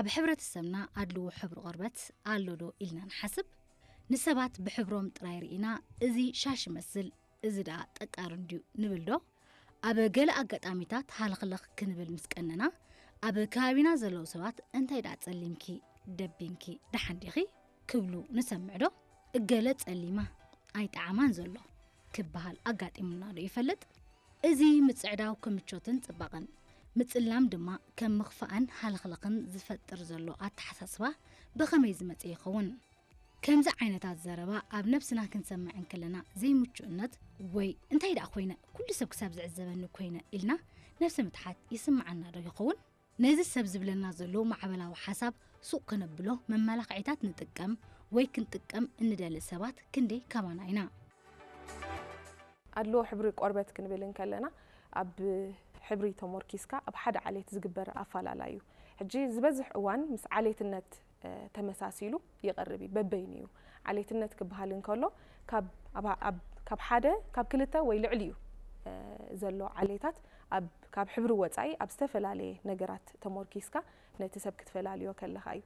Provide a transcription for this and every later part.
ኣብ ሕብረተሰብና ኣድልዎ ሕብሪ ቆርበት ኣሎ ዶ ኢልና ንሓስብ? ንሰባት ብሕብሮም ጥራይ ርኢና፣ እዚ ሻሽ ይመስል፣ እዚ ደኣ ጠቃር እንድዩ ንብል ዶ? ኣብ ገለ ኣጋጣሚታት ሃለኽለኽ ክንብል ምስ ቀነና፣ ኣብ ከባቢና ዘለዉ ሰባት እንታይ ደኣ ጸሊምኪ፣ ደቢንኪ፣ ደሓን ዲኺ ክብሉ ንሰምዕ ዶ? እገለ ጸሊማ ኣይጠዓማን ዘሎ ክበሃል ኣጋጢሙና ዶ ይፈልጥ? እዚ ምጽዕዳው ከም ምቾትን ጽባቐን፣ ምጽላም ድማ ከም ምኽፋእን ሃለኽለኽን ዝፈጥር ዘሎ ኣተሓሳስባ ብኸመይ ዝመጸ ይኸውን? ከምዚ ዓይነታት ዘረባ ኣብ ነብስና ክንሰምዕ እንከለና ዘይምቹእነት ወይ እንታይ ደኣ ኮይነ ኩሉ ሰብ ክሳብ ዝዕዘበኒ ኮይነ ኢልና ነብሲ ምትሓት ይስምዓና ዶ ይኸውን? ነዚ ሰብ ዝብለና ዘሎ ማዕበላዊ ሓሳብ ሱቕ ከነብሎ መመላኽዒታት ንጥቀም ወይ ክንጥቀም እንደሊ ሰባት ክንደይ ካባና ኢና? ኣድልዎ ሕብሪ ቆርበት ክንብል እንከለና ኣብ ሕብሪ ተሞርኪስካ ኣብ ሓደ ዓሌት ዝግበር ኣፈላላይ እዩ። ሕጂ ዝበዝሕ እዋን ምስ ዓሌትነት ተመሳሲሉ ይቐርብ እዩ፣ በበይኑ እዩ። ዓሌትነት ክበሃል እንከሎ ካብ ሓደ፣ ካብ ክልተ ወይ ልዕሊኡ ዘሎ ዓሌታት ካብ ሕብሪ ወፃኢ ኣብ ዝተፈላለየ ነገራት ተሞርኪስካ ነቲ ሰብ ክትፈላልዮ ከለኻ እዩ።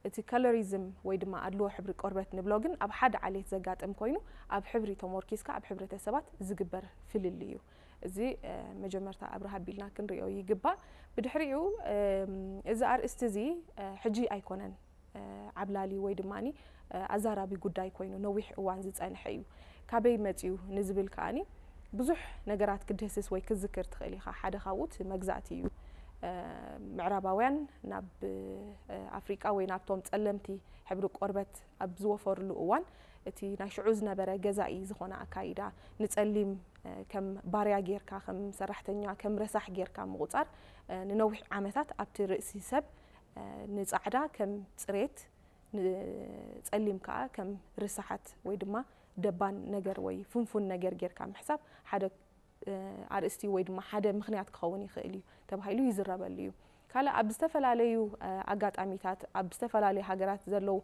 እቲ ከለሪዝም ወይ ድማ ኣድልዎ ሕብሪ ቆርበት ንብሎ ግን ኣብ ሓደ ዓሌት ዘጋጥም ኮይኑ ኣብ ሕብሪ ተሞርኪስካ ኣብ ሕብረተሰባት ዝግበር ፍልልይ እዩ። እዚ መጀመርታ ኣብርሃ ኣቢልና ክንሪኦ ይግባእ። ብድሕሪኡ እዚ ኣርእስቲ እዚ ሕጂ ኣይኮነን ዓብላሊ ወይ ድማ ኣዛራቢ ጉዳይ ኮይኑ ነዊሕ እዋን ዝፀንሐ እዩ። ካበይ መፅዩ ንዝብል ከኣኒ ብዙሕ ነገራት ክድህስስ ወይ ክዝክር ትኽእል ኢኻ። ሓደ ካብኡ እቲ መግዛእቲ እዩ። ምዕራባውያን ናብ ኣፍሪቃ ወይ ናብቶም ጸለምቲ ሕብሪ ቆርበት ኣብ ዝወፈርሉ እዋን እቲ ናይ ሽዑ ዝነበረ ገዛኢ ዝኾነ ኣካይዳ ንጸሊም ከም ባርያ ጌርካ፣ ከም ሰራሕተኛ፣ ከም ረሳሕ ጌርካ ምቑጻር ንነዊሕ ዓመታት ኣብቲ ርእሲ ሰብ ንጻዕዳ ከም ጽሬት፣ ንጸሊም ከኣ ከም ርሳሓት ወይ ድማ ደባን ነገር ወይ ፍንፉን ነገር ጌርካ ምሕሳብ ሓደ ኣርእስቲ ወይ ድማ ሓደ ምኽንያት ክኸውን ይኽእል እዩ ተባሂሉ ይዝረበሉ እዩ። ካልእ ኣብ ዝተፈላለዩ ኣጋጣሚታት ኣብ ዝተፈላለዩ ሃገራት ዘለዉ